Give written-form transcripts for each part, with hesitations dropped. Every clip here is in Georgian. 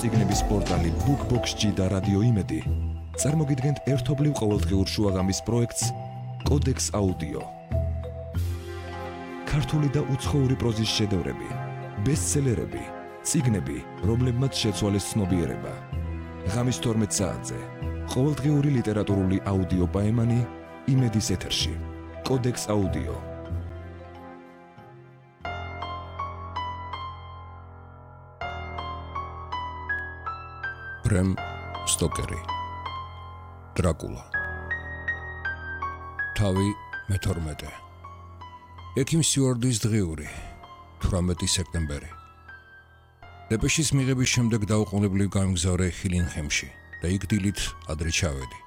წიგნების პორტალი BookBox-ში და რადიო იმედი წარმოგიდგენთ ერთობლივ ყოველდღიურ შუაღამის პროექტს კოდექს აუდიო. ქართული და უცხოური პროზის შედევრები, ბესტსელერები, წიგნები, რომლებმაც შეცვალეს ცნობიერება. ღამის 12 საათზე ყოველდღიური ლიტერატურული აუდიო პაემანი იმედის ეთერში. კოდექს აუდიო. ბრემ სტოკერი დრაკულა თავი მე-12 ექიმ სტიუარტის დღიური 18 სექტემბერი დეპეშის მიღების შემდეგ დაუყოვნებლივ გამგზავრე ჰილინჰემში და იქ დილით ადრე ჩავედი.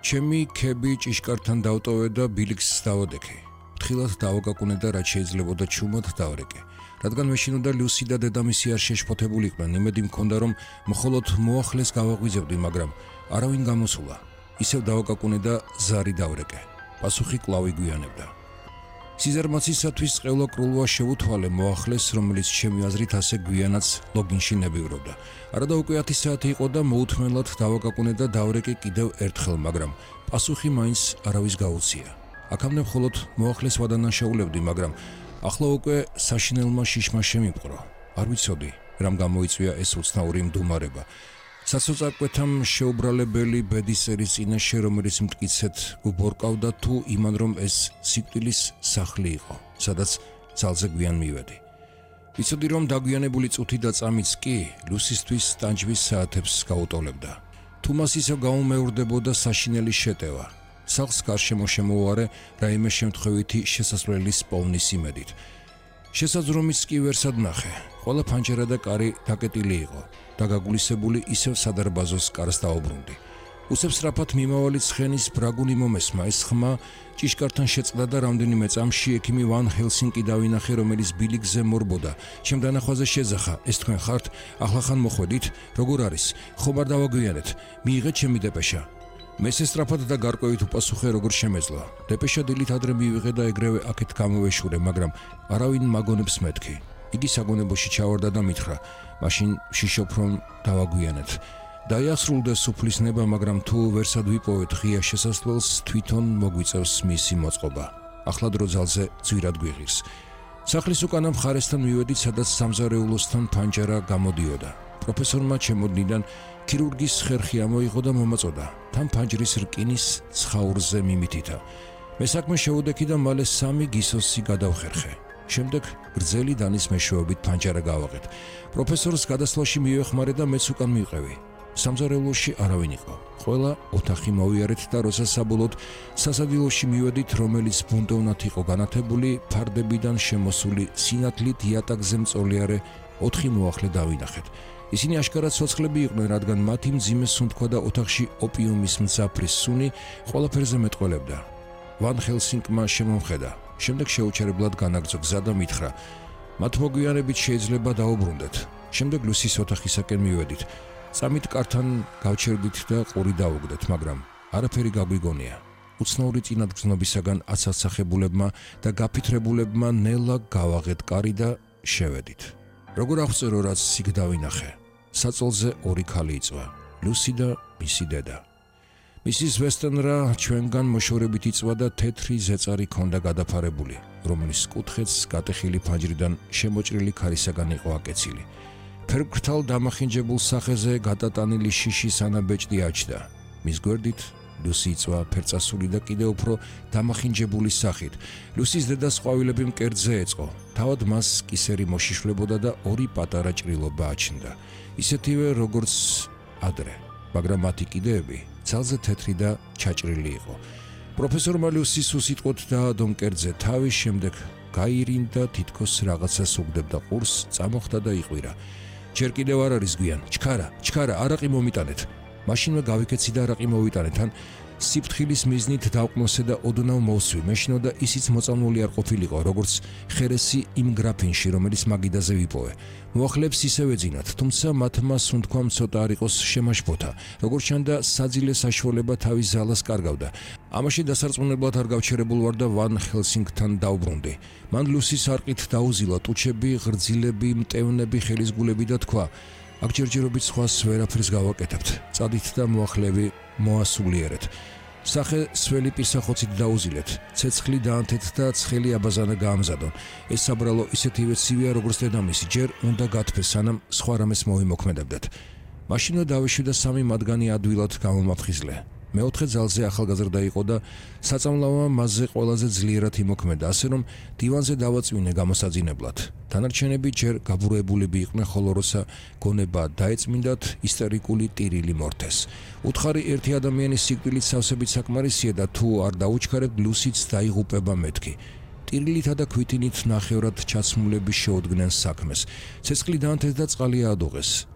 ჩემი ქები ჭიშკართან დავტოვე და ბილიქს დავადექი. ფრთხილად დავაგაკუნე და რაც შეიძლებოდა ჩუმად დავრეკე. რადგან მეშინ უნდა ლუსი და დედამისი არ შეშფოთებული იყვნენ, იმედი მქონდა რომ მხოლოდ მოახლეს გავაღვიძებდი, მაგრამ არავინ გამოსულა. ისევ დავაგაკუნე და ზარი დავრეკე. პასუხი კვლავ იგვიანებდა. სიზარმაცისათვის ყევლა კრულვა შევუთვალე მოახლეს, რომელიც ჩემი აზრით ასე გვიანაც ლოგინში ნებივრობდა. არადა უკვე 10 საათი იყო და მოუთმენლად დავაგაკუნე და დავრეკე კიდევ ერთხელ, მაგრამ პასუხი მაინც არავის გაუწია. აქამდე მხოლოდ მოახლეს ვადანაშაულებდი, მაგრამ ახლა უკვე საშინელმა შიშმა შემიპყრო. არ ვიცოდი, რამ გამოიწვია ეს უცნაური მდუმარება. საცოწარკვეთამ შეუბრალებელი ბედის წერის წინაშე, რომელიც მტკიცედ გუბორკავდა თუ იმან რომ ეს სიკვდილის სახლი იყო, სადაც ძალზე გვიან მივედი. ვიცოდი რომ დაგვიანებული წუთი და წამიც კი ლუსისთვის ტანჯვის საათებს გაუტოლებდა. თუ მას ისევ გაუმეორდებოდა საშინელი შეტევა. სახლს გარშემო შემოვარე რაიმე შემთხვევითი შესასვლელის პოვნის იმედით. შესაძრომიც კი ვერსად ნახე. ყველა ფანჯარა და კარი დაკეტილი იყო. დაგაგულისებული ისევ სადარბაზოს კარს დაუბრუნდი. უსებსრაფად მიმავალი ცხენის ბრაგუნი მომესმა. ეს ხმა ჭიშკართან შეწყდა და რამდენიმე წამში ექიმი ვან ჰელსინკი დავინახე, რომელიც ბილიქზე მორბოდა. ჩემ დანახვაზე შეძახა, ეს თქვენ ხართ? ახლახან მოხვედით? როგორ არის? ხომ არ დავაგვიანეთ? მიიღეთ ჩემი დეპეშა. მესესტრაფად და გარკვევით უპასუხე როგორ შემეძლო. დეპეშა დილით ადრე მივიღე და ეგრევე აქეთ გამოვეშურე, მაგრამ არავინ მაგონებს მეთქი. იგი საგონებოში ჩავარდა და მითხრა, მაშინ ვშიშობ რომ დავაგვიანეთ. დაიასრულდა სუფლის ნება, მაგრამ თუ ვერსად ვიპოვეთ ღია შესასვლელს, თვითონ მოგვიწევს მისი მოწყობა. ახლა დრო ძალზე ძვირად გვიღირს. სახლის უკანა მხარესთან მივედით, სადაც სამზარეულოსთან ფანჯარა გამოდიოდა. პროფესორმა ჩემოდნიდან ქირურგის ხერხი ამოიღო და მომაწოდა. თან ფანჯრის რკინის ცხაურზე მიმითითა. მე საქმე შევუდექი და მალე 3 გისოსი გადავხერხე. შემდეგ გრძელი დანის მეშვეობით ფანჯარა გავაღეთ. პროფესორს გადასვლაში მივეხმარე და მეც უკან მივყევი. სამზარეულოში არავინ იყო. ყველა ოთახი მოვიარეთ და როცა საბოლოოდ სასადილოში მივედით, რომელიც ბუნდოვნად იყო განათებული, ფარდებიდან შემოსული სინათლით იატაკზე მწოლიარე 4 მოახლე დავინახეთ. ისინი აშკარად ცოცხლები იყვნენ, რადგან მათი მძიმე სუნთქვა და ოთახში ოპიუმის მძაფრის სუნი ყველაფერზე მეტყველებდა. ვან ჰელსინკმა შემომხედა. შემდეგ შეუჩერებლად განაგრძო გზა და მითხრა, მათ მოგვიანებით შეიძლება დაუბრუნდეთ. შემდეგ ლუსის ოთახისაკენ მივედით. წამით კართან გავჩერდით და ყური დაუგდეთ, მაგრამ არაფერი გაგვიგონია. უცნაური წინადგზნობისაგან აცალსახებულებმა და გაფიქრებულებმა ნელა გავაღეთ კარი და შევედით. როგორ აღწერო, რაც იქ დავინახე? საწოლზე 2 ქალი იწვა, ლუსი და მისი დედა. მისის ვესტენრა ჩვენგან მოშორებით იწვა და თეთრი ზეწარი ქონდა გადაფარებული, რომლის კუთხეც გატეხილი ფანჯრიდან შემოჭრილი ქარისაგან იყო აკეცილი. ფერმკრთალ დამახინჯებულ სახეზე გადატანილი შიშის ანაბეჭდი აჩდა. მის გვერდით ლუსი იწვა ფერწასული და კიდევ უფრო დამახინჯებული სახით. ლუსის დედას ყვავილები მკერდზე ეწყო. თავად მას კისერი მოშიშვლებოდა და 2 პატარა ჭრილობა აჩნდა. ისეთივე როგორც ადრე, მაგრამ მათი კიდეები ძალზე თეთრი და ჩაჭრილი იყო. პროფესორმა ლუსის უსიტყვოდ დაადო მკერდზე თავი, შემდეგ გაირინდა, თითქოს რაღაცას უგდებდა ყურს, წამოხდა და იყვირა. ჯერ კიდევ არ არის გვიან. ჩქარა, არაყი მომიტანეთ. მაშინვე გავიქეცი და არაყი მოვიტანეთ, ან სიფრთხილის მიზნით დავყნოსე და ოდნავ მოვსვი. მეშინო და ისიც მოწამლული არ ყოფილიყო, როგორც ხერესი იმ გრაფინში, რომელიც მაგიდაზე ვიპოვე. მოახლებს ისევ ეძინათ, თუმცა მათმა სუნთქვამ ცოტა არ იყოს შემაშფოთა. როგორც ჩანდა, საძილე საშუალება თავის ზალას კარგავდა. ამაში დასარწმუნებლად არ გავჩერებულ ვარ და ვან ჰელსინგთან დავბრუნდი. მან ლუსის არყით დაუზილა ტუჩები, ღრძილები, მტევნები, ხელისგულები და თქვა, აქ ჯერჯერობით სხვას ვერაფერს გავაკეთებთ. წადით და მოახლევი მოასულიერეთ. სახე სველი პირსახოცით დაუზილეთ. ცეცხლი დაანთეთ და ცხელი აბაზანა გაამზადონ. ეს საბრალო ისეთივე ცივია, როგორც დედამისი. ჯერ უნდა გათფეს, სანამ სხვა რამეს მოვიმოქმედებდეთ. მაშინვე დავიშვი და 3 მათგანი ადვილად გამომაფხიზლე. მეოთხე ძალზე ახალგაზრდა იყო და საწამლავმა მასზე ყველაზე ძლიერად იმოქმედა, ასე რომ დივანზე დავაწვინე გამოსაძინებლად. დანარჩენები ჯერ გაბურებულები იყვნენ, ხოლო როცა გონება დაეწმინდათ, ისტერიკული ტირილი მორთეს. უთხარი ერთი ადამიანის სიკვდილით სავსებით საკმარისია და თუ არ დაუჩქარებთ, ლუსიც დაიღუპება მეთქი. ტირილითა და ქვითინით ნახევრად ჩაცმულები შეუდგნენ საქმეს. ცეცხლი დაანთეთ და წყალი აადუღეს.